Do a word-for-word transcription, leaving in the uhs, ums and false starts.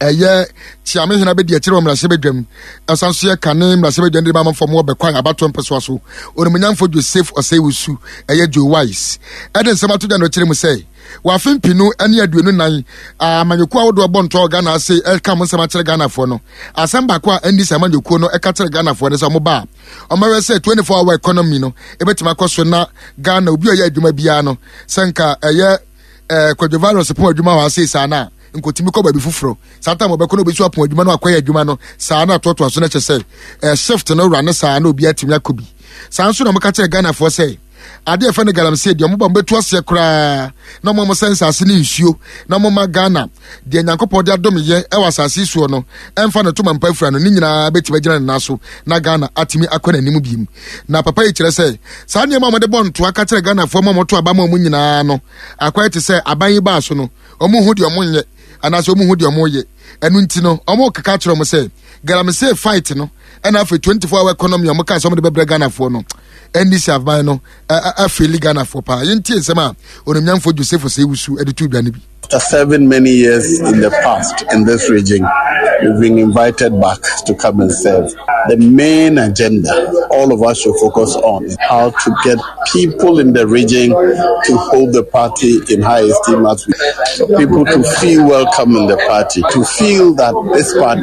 Ɛyɛ Kyiamehene abɛdi akyire wɔ mmarahyɛbadwam, ɛsan so yɛ kane mmarahyɛbadwam de ma amanfoɔ wɔ Bɛkwae abatoɔ mpɛsoa so, Onimonyamfo Joseph Osei-Owusu, ɛyɛ Joe Wise, ɛde nsɛm ato dwa na ɔkyerɛ mu sɛ wɔ afe mpinu ne aduonu nan amanyɔkuo ahodoɔ bɔ ntoa wɔ Ghana ase ɛka mo nsɛm akyerɛ Ghanafoɔ no, asɛm baako a ɛnni sɛ amanyɔkuo no ɛka kyerɛ Ghanafoɔ no sɛ ɔmo ba a ɔmɛwɛ sɛ twenty-four hour economy no ɛbɛtumi akɔ so na Ghana obi a ɔyɛ adwuma biara no sɛ nka ɛyɛ ɛɛ kwadwo virus pɔn adwuma wɔ ase saa na nkotimi kɔ baabi foforɔ saa tam ɔbɛkɔ no obi so apɔn adwuma no akɔyɛ adwuma no saa na atoatoa so no kyɛ sɛ ɛɛ shift no wura ne saa na obi atumi akɔ bi. Saa nso na ɔmo ka kyerɛ Ghanafoɔ sɛ adeɛ fɛ no galamsey deɛ ɔmo ba ɔmo bɛtu aseɛ koraa na ɔmo ɔmo sɛ nsase ne nsuo na ɔmo ma Ghana deɛ Nyankopɔn de adom yɛ ɛwɔ asase soɔ no ɛmfa ne toma mpa afura no ne nyinaa bɛtumi agyina ne nan so na Ghana atumi akɔ n'anim biem. Na papa yi kyerɛ sɛ saa nneɛma a wɔde bɔ ntoa ka kyerɛ Ghanafoɔ ma wɔto aba ma wɔn nyinaa no akɔyɛ te sɛ aban yi baa so no wɔn hu deɛ wɔn nyɛ anaasɛ wɔn hu deɛ wɔn yɛ. Ɛno nti no wɔn keka kyerɛ wɔn sɛ galamsey fight no ɛna afei twenty-four hour economy a wɔn kaa sɛ wɔn de bɛbrɛ Ghanafoɔ no N D C aban no afeeli Ghanafoɔ paa. Yɛntie nsɛm a Onimnyamfoɔ Joseph Osei-Owusu de to dwa no bi. After serving many years in the past in this region, we've been invited back to come and serve. The main agenda all of us should focus on is how to get people in the region to hold the party in high esteem, as we, people to feel welcome in the party, to feel that this party